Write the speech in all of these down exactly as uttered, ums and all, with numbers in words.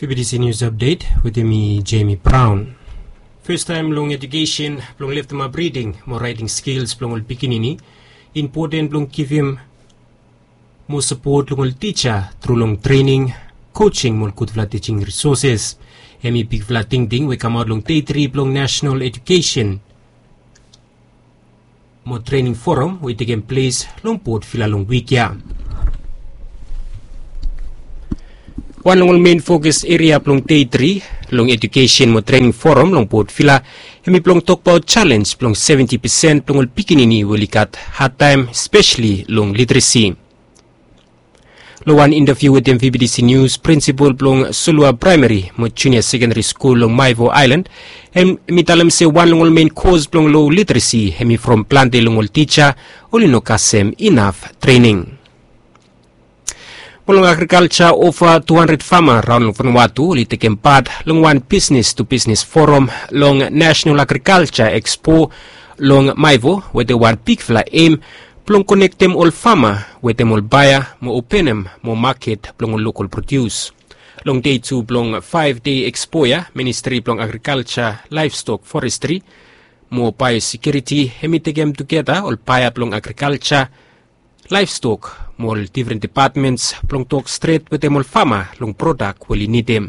B B T C News Update wetem mi, Jamie Brown. Festaem long ejukesen blong leftemap riding mo raeting skils blong ol pikinini, impoten blong givim mo sapot long ol tija tru long trening, kojing mo ol gudfala tijing risoses. Hemi bigfala tingting we kamaot long dei tri blong National Ejukesen mo Trening Forum we i tekem ples long Port Vila long wik ya. Wan long ol men fokus eria blong dei tri long Ejukesen mo Trening Forum long Port Vila, hemi blong tokbaot jalens blong seventi pesen blong ol pikinini we oli gat hadtaem, espeseli long literesi. Long wan intaviu wetem V B T C Nius, prinsipol blong Solua Praemari mo Junia Sekenari Skul long Maivo Aelan, hemi talem se wan long ol men kos blong lo literesi hemi from plante long ol tija oli no kasem inaf trening. Mo long agrikalja, ova tu handred fama raon long Vanuatu oli tekem pat long wan bisnes tu bisnes foram long Nasenal Agrikalja Ekspo long Maivo, wetem wan bigfala em blong konektem ol fama wetem ol baea mo openem moa maket blong ol lokol prodius. Long dei tu blong faef dei ekspo ya, Ministri blong Agrikalja, Laevstok, Forestri mo Baeosekiuriti hemi tekem tugeta ol baea blong agrikalja, laevstok mo ol defren depatmens blong tok stret wetem ol fama long prodak we oli nidim.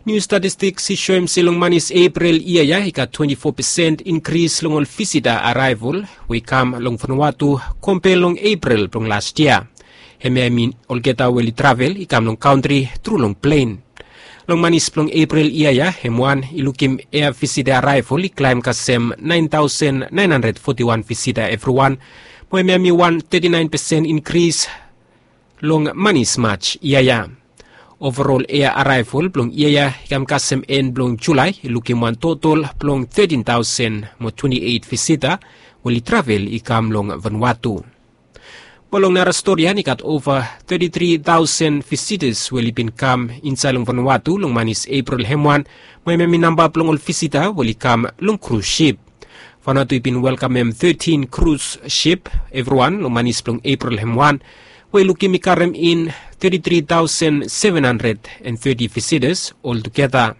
Niu statistiks i soem se long manis Epril yia ya i gat twenti fo pesen inkris long ol visita araevol we i kam long Vanuatu, kompea long Epril blong las yia. Hemia i min olgeta we oli travel i kam long kantri tru long plen. Long manis blong Epril yia ya, hem wan i lukim ea visita araevol i klaem kasem naen taosen naen handred foti wan visita evriwan, mo hemia i wan teti naen pesen inkris long manis Maj yia ya. Ovarol ea araevol blong yia ya i kam kasem en blong Julae i lukim wan totol blong tetin taosen mo twenti eit visita we oli travel i kam long Vanuatu. Mo long nara stori ya, i gat ova teti tri taosen visitas we oli bin kam insaed long Vanuatu long manis Epril hem wan, mo hemia i namba blong ol visita we oli kam long krus sip. Vanuatu i bin welkamem tetin krus sip evriwan long manis blong Epril hem wan, we i lukim i karem in teti tri taosen seven handred and teti visitas oltugeta.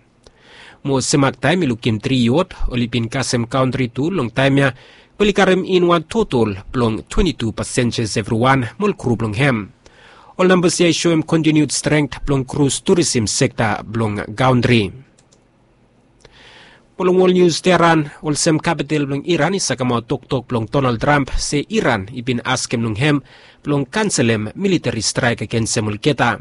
Mo semak taem i lukim tri yot oli bin kasem kantri tu long taem ya, we oli karem in wan totol blong twenti tu pasenjas evriwan mo ol kru blong hem. Ol nambas ya i soem kontiniud strength blong krus turisim sekta blong kantri. Mo long wol nius, Teheran, olsem kapital blong Iran, i sakemaot toktok blong Donald Trump se Iran i bin askem long hem blong kanselem militeri straek agensem olgeta.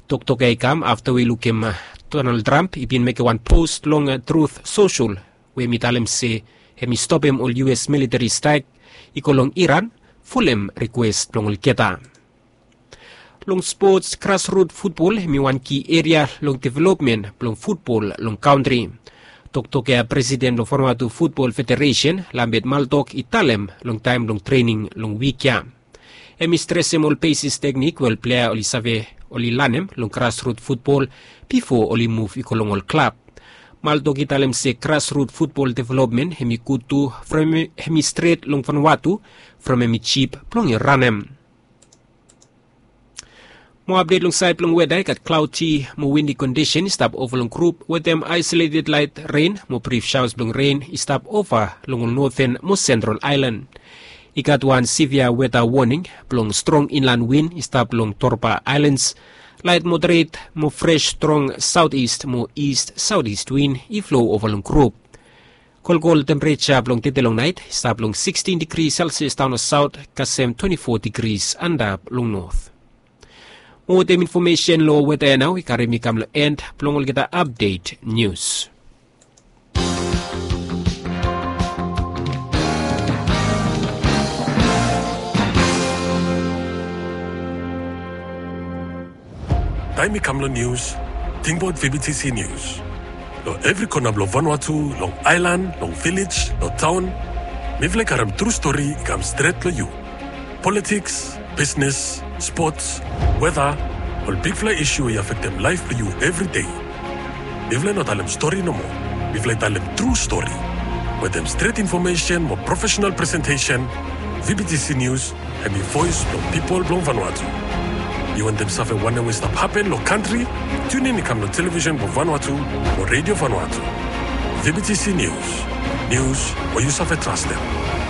Toktok ya i kam afta we i lukim, a, Donald Trump i bin mekem wan pos long, a, Truth Social, we hem i talem se hem i stopem ol U S militeri straek i go long Iran, folem rikwes blong olgeta. Long spots, grasrut futbol hem i wan ki eria long developmen blong futbol long kantri. Toktok ya presiden blong Vanuatu Futbol Federesen, Lambert Maltok, i talem long taem blong trening long wik ya. Hem i stresem ol besis teknik we ol plea oli save oli lanem long grasrut futbol bifo oli muv i go long ol klab. Maltok i talem se grasrut futbol developmen hem i gud tu from hem i stret long Vanuatu from hem i jip blong i ranem. Mo apdet long saed blong weda, i gat klaodi mo windi kondisen i stap ova long grup wetem aesoleted laet ren mo brif saos blong ren i stap ova long ol noten mo sentral aelan. I gat wan sivia weda woning blong strong inlan win i stap long Torba Aelans. Laet moderet mo fres strong saotis mo is saotis win i flo ova long grup. Kolkol tempereja blong tede long naet i stap long sikstin digri Selsias daon long saot, kasem twenti fo digri antap long not. Mo wetem infomesen long weda ya nao i karem mi kam long en blong olgeta apdet nius. Taem i kam long nius, tingbaot V B T C Nius. Long evri kona blong Vanuatu, long aelan, long vilej, long taon, mifala i karem tru stori i kam stret long yu. Politiks, bisnes, spots, weda, ol bigfala isu we i afektem laef blong yu evri dei. Mifala i no talem stori nomo. Mifala i talem tru stori. Wetem stret infomesen mo profesenal presentesen, V B T C Nius hem i voes blong pipol blong Vanuatu. Yu wantem save wanem we stap hapen lo kantri? Tunin i kam lo television blong Vanuatu o redio Vanuatu. V B T C News. Nius we yu save trastem.